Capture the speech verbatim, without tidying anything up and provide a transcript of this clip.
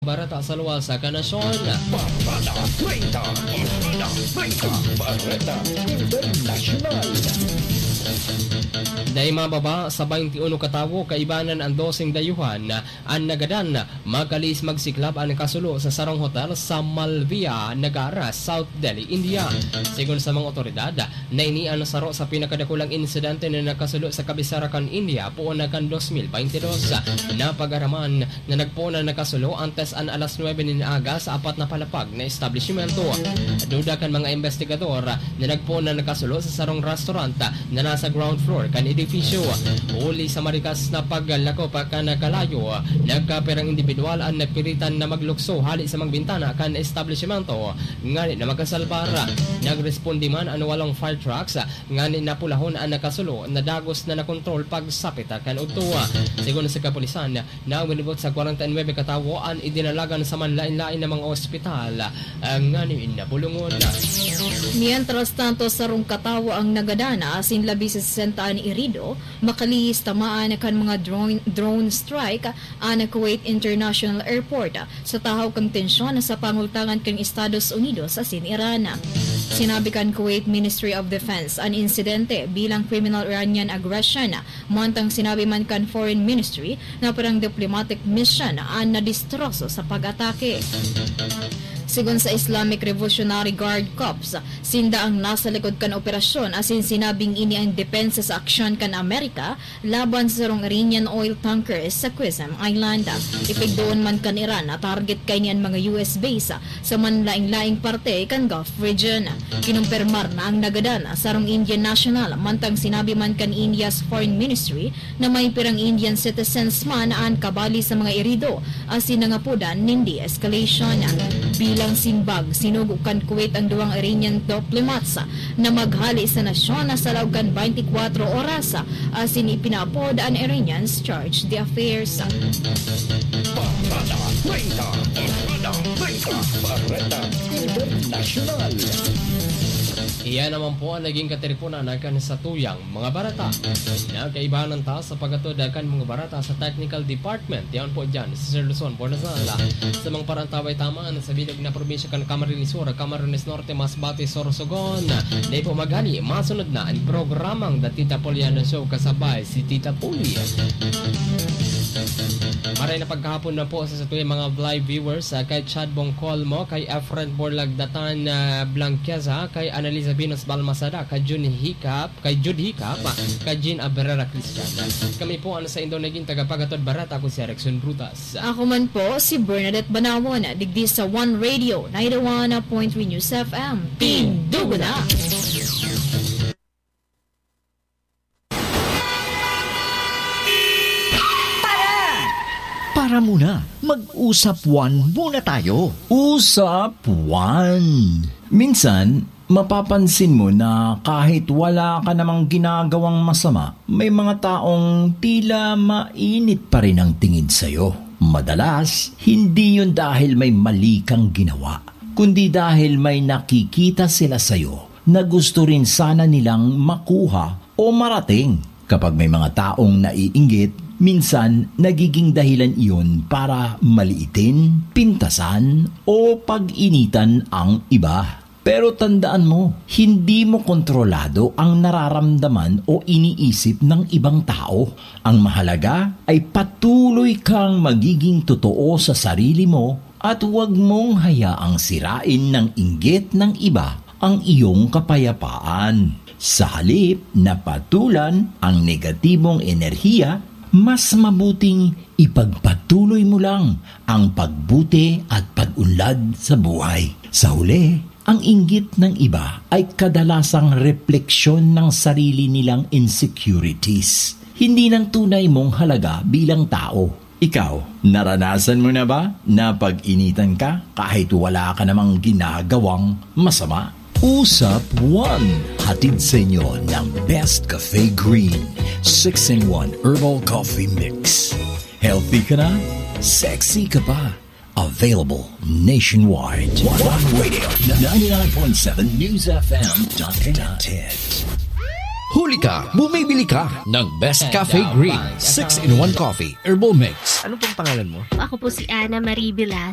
Bareta sa luwas sa kanasyon. Bareta treinta, Bareta treinta, Bareta Internasyonal. Dai mababa sa baynte uno ka tawo, kaibanan an doseng dayuhan an nagadan, makalihis magsiklab an kasulo sa sarong hotel sa Malviya, Nagara, South Delhi, India. Sigon sa mga otoridad, na ini an saro sa pinakadakulang insidente na nakasulo sa kabisera kan India poon na kan dos mil baynte dos. Napag-araman na nagpoon na nakasulo antes an alas nuebe nin aga sa apat na palapag na establishmento. Duda kan mga investigador na nagpoon na nakasulo sa sarong restaurant na nasa ground floor kan edipisyo. Huli sa marikas na paglakop kan kalayo, nagkapirang indibidwal an napilitan na maglukso hali sa mga bintana kan establishmento ngani na makasalbar. Nagresponde man an walong fire trucks ngani na pulahon an nakasulo na dagos na nakontrol pagsapit kan udto. Sigon sa kapulisan, naminibot sa kwarenta y nuebe ka tawo an idinalagan sa manlain-lain na mga ospital, ah, ngani na bulungon. Mientras tanto, sarong katawo ang nagadana asin labi sa sesenta an irido, makalihis tamaan kan mga drone, drone strike an Kuwait International Airport sa tahaw kan tensyon sa pangultangan kan Estados Unidos asin Iran. Sinabi kan Kuwait Ministry of Defense an insidente bilang criminal Iranian aggression, mantang sinabi man kan Foreign Ministry na parang diplomatic mission an nadistroso sa pag-atake. Sigon sa Islamic Revolutionary Guard Corps, sinda ang nasa likod kan operasyon asin sinabing ini ang depensa sa aksyon kan Amerika laban sa sarong Iranian oil tanker sa Qesem Island. Ipigdoon man kan Iran na target kaini an mga U S base sa manlaing-laing parte kan Gulf region. Kinumpirmar na ang nagadan sarong Indian national, mantang sinabi man kan India's Foreign Ministry na may pirang Indian citizens man an kabali sa mga irido asin nangapodan nin de-escalation. Bilang simbag, sinugo kan Kuwait ang duwang Iranian diplomats na maghali sa nasyon sa laog kan baynte kwatro oras asin ipinaapod an Iranians charge d'affaires. Bareta treinta, Bareta treinta, Bareta Internasyonal. Iyan naman po ang naging katiriponan kan satuyang mga bareta. Nagkaibahan ta sa paghatod kan mga bareta sa technical department. Yan po dyan si Sir Luzon Bornazal. Sa mga parang taway taman sa bilog na probinsya kan Camarines Sur, Camarines Norte, Masbate, Sorsogon. Dai po maghali, masunod na ang programang The Tita Poliana Show kasabay si Tita Poli. Maray na pagkahapon na po sa satuyang mga live viewers, ah, kay Chad Bongkolmo, kay Efren Borlagdatan, ah, Blanqueza, kay Annalisa Venus Balmasada, kay Jun Hicap, kay Jude Hicap, ah, kay Jean Abrera Cristian. Kami po ang sa indo naging tagapaghatod bareta, ako si Erickson Brutas. Ako man po, si Bernadette Banawon, digdi sa One Radio, ninety-one point three News F M. Tindugo na! Para! Para muna, mag-usap one muna tayo. Usap one. Minsan, mapapansin mo na kahit wala ka namang ginagawang masama, may mga taong tila mainit pa rin ang tingin sa'yo. Madalas, hindi yun dahil may mali kang ginawa, kundi dahil may nakikita sila sa'yo na gusto rin sana nilang makuha o marating. Kapag may mga taong naiinggit, minsan nagiging dahilan iyon para maliitin, pintasan, o pag-initan ang iba. Pero tandaan mo, hindi mo kontrolado ang nararamdaman o iniisip ng ibang tao. Ang mahalaga ay patuloy kang magiging totoo sa sarili mo at huwag mong hayaang sirain ng inggit ng iba ang iyong kapayapaan. Sa halip na patulan ang negatibong enerhiya, mas mabuting ipagpatuloy mo lang ang pagbuti at pag-unlad sa buhay. Sa huli, ang inggit ng iba ay kadalasang refleksyon ng sarili nilang insecurities, hindi ng tunay mong halaga bilang tao. Ikaw, naranasan mo na ba na pag-initan ka kahit wala ka namang ginagawang masama? Usap One, hatid sa inyo ng Best Cafe Green, six in one Herbal Coffee Mix. Healthy ka na, sexy ka pa. Available nationwide. One Radio, ninety-nine point seven News F M. Connected. Huli ka, bumibili ka ng Best Cafe Green, six in one Coffee, Herbal Mix. Ano pong pangalan mo? Ako po si Ana Marie Velasquez.